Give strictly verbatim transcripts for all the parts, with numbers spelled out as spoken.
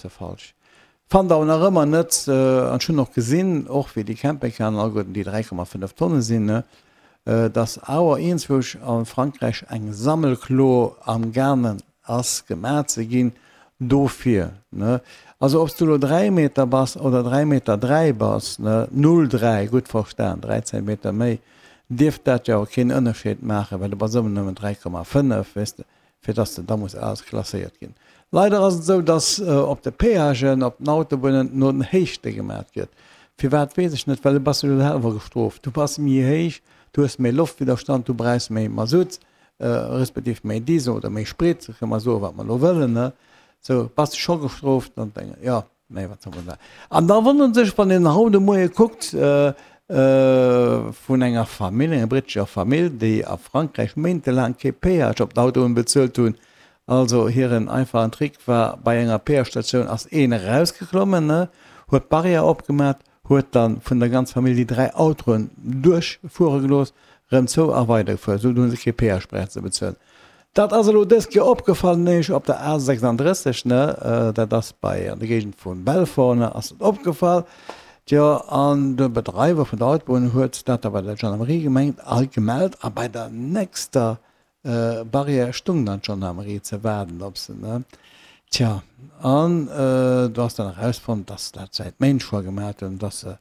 ze falsch. Fannt awer nach ëmmer net, an ech hunn och gesinn, och wéi déi Campingcaren alleguerten déi dräi Komma fënnef Tonne sinn, dass awer iergendzwousch a Frankräich eng Sammelklo am gaangen ass gemaach ze ginn dofir. Also ob s du elo dräi Meter bass oder dräi Meter dräi bass, null dräi, gutt verstan, dräi Zentimeter méi, dierft dat jo awer keen Ënnerscheed maachen, well du bass ëmmer nëmmen dräi Komma fënnef, weess de. fir dass de da muss ausklasséiert ginn. Leider ass et esou, dass op de Péagen, op den Autobunnen no den Héichte gemat gëtt. Firwat weess ech net, well du bass jo selwer gestrooft. Du bass méi héich, du hues méi Loftwidderstand, du brauchs méi Masutt, respektiv méi Diesel oder méi Sprit, kënne mer soen, wat mer elo wëllen, ne? Sou bass de scho gestrooft an deng, jo. Nee, wat soll man da? An da wonnert sech, wann een haut de Moie kuckt, vun enger Famill, enger brittescher Famill, déi a Frankräich méintelaang kee Péage op d'Autoen bezuelt hunn. Also hiren einfachen Trick war, bei enger Péage-Statioun ass een erausgeklommen, huet d'Barrière opgemat, huet dann vun der ganzer Famill déi dräi Autoen duerchfuere gelooss, rëm zou a weidergefuer. Esou hunn se kee Péage brauchen ze bezuelen. Dat ass elo dës Kéier opgefall, nämlech op der A sechsunddrësseg, ne, dat ass bei an der Géigend vu Belfort, ne, ass dat opgefall. Tjo, an de Bedreiwer vun der Autobunn huet dat da bei der Gendarmerie gemengt a gemellt a bei der nächster Barrière stung dann d'Gendarmerie ze waarden op se, ne. Tja, an do ass dann erausfonnt, dass se dat säit Méint scho gemat hunn, dass se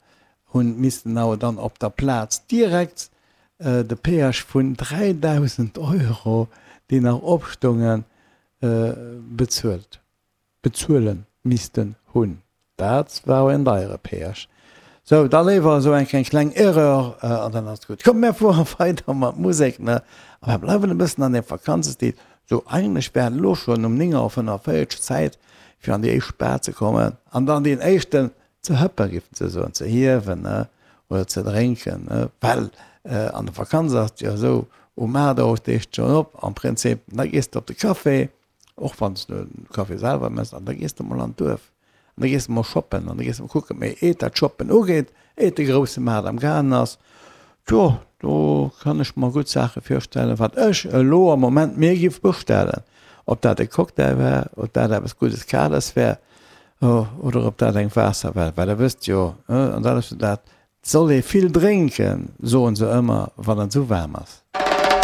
hunn missten awer dann op der Plaz direkt de Péage vun dräidausend Euro, déi nach opstoungen, bezuelt, bezuele missten hunn. Dat war en deiere Péage. Sou, da léiwer esou eng kleng Erreur an dann ass et gutt. Komm, mär fuere weider mat Musek, ne? A mär bleiwen e bëssen an deem Vakanzestil. Sou, eigentlech wär et elo schonn um néng Auer fënnefenvéierzeg Zäit, fir an déi éischt Bar ze kommen an dann deen éischten ze hëppen, géifen se soen, ze hiewen, ne, oder ze drénken, ne, well an der Vakanz ass et jo esou, um aacht Auer stees de schonn op am Prinzip, da gees de op de Café, och wann s de de Café selwer méchs, an da gees de mol an d'Duerf an da gees de mol shoppen an da gees de mol kucken. Mee eet dat Shoppen ugeet, eet de grousse Maart am gaangen ass, tjo, do kann ech mer gutt Saache virstellen, wat ech elo am Moment mir giff bestellen, ob dat e Cocktail wär, ob dat eppes Guddes Kales wär, Oder ob dat eng Waasser war, well der wësst jo, an dat ass jo dat, 't soll ee vill drénken, soen se ëmmer, wann et esou waarm ass.